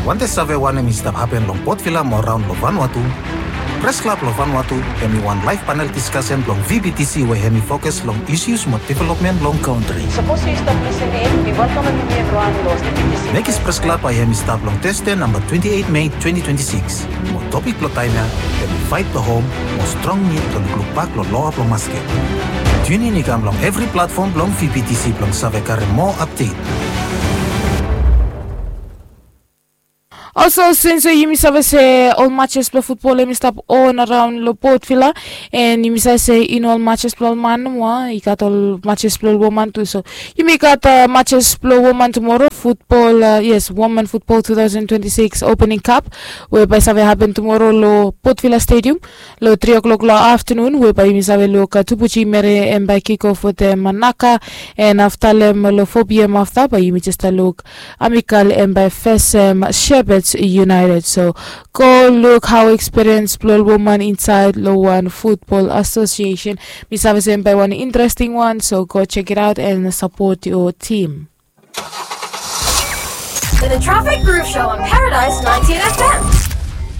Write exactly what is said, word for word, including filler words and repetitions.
Wantem save wanem i stap hapen long Port Vila mo raon long Vanuatu? Pres Klab long Vanuatu hem i wan laef panel diskasen blong V B T C we hem i fokus long isus mo developmen blong kantri. Sapos yu stap lisin in, mi welkamem yumi evriwan long V B T C. Mekis Pres Klab bae hem i stap long Tasde namba twenti eit Mei twenti twenti sikis. Mo topik blong taem ya hem i faet blong hom mo strong nid blong lukluk bak long loa blong masket. Tiunin i kam long evri platfom blong V B T C blong save karem moa apdet. Olsem since yumi save se ol matches blong futbol hem i stap on araon long Port Vila, and yumi save se i no ol matches blong ol man nomo, i gat ol matches blong ol woman tu. So yumi gat matches blong woman tumoro, futbol, yes, Woman Futbol two thousand twenty-six Opening Cup, we bae save hapen tumoro long Port Vila Stadium long tri o'clock long aftanun, we bae yumi save luk Tubuji Mere hem bae kick off wetem Manaka, and afta long four p.m. afta bae yumi jes luk Amical hem bae fesem Shepherds United. So go luk hao ekspiriens blong ol woman insaed long wan futbol asosiesen. Mi save se hem bae wan interesting wan, so go jekitaot and sapot yo tim. The Traffic Groove Show on Paradise ninety-eight F M.